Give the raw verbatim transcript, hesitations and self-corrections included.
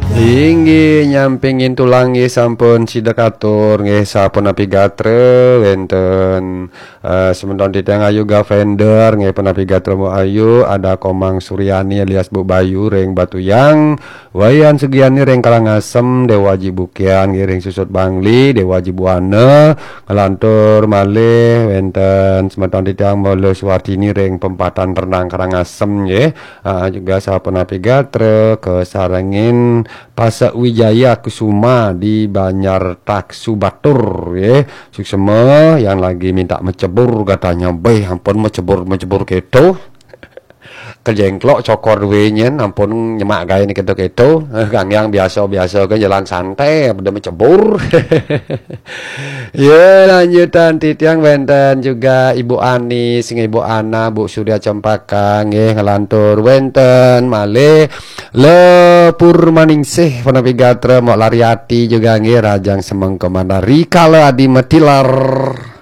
Inggih, nyampingin tulang nggih sampun sida katur nggih, sapunapi gatra wenten, eh, semeton titiang Ayu Gavender nggih, punapi gatra Mbok Ayu, ada Komang Suryani alias Bu Bayu ring Batuyang, Wayan Sugiani ring Karangasem, Dewa Aji Bukian nggih ring Susut Bangli, Dewa Aji Buana, ngelantur malih wenten semeton titiang Mula Suwartini ring Pempatan Renang Karangasem nggih. Ah, juga sapunapi gatra kasarengin Pasek Wijaya Kusuma di Banjar Taksu Batur, ya. Suksema yang lagi minta mecebur katanya, "Beh, ampun mecebur-mecebur keto." Kejengklok cokor duwe nyen, ampun nyemak gawe ni keto-keto. Eh, Gang Yang biasa-biasa ke jalan santai, pada mecebur. Ya, lanjutan titiang wenten juga Ibu Ani, sing Ibu Ana, Bu Surya Cempaka, nggih ngelantur wenten malih Le Purmaningsih, punapi gatra, Mok Lariati juga nggih, Rajang Semengko Mandar, Rikala Adi Metilar.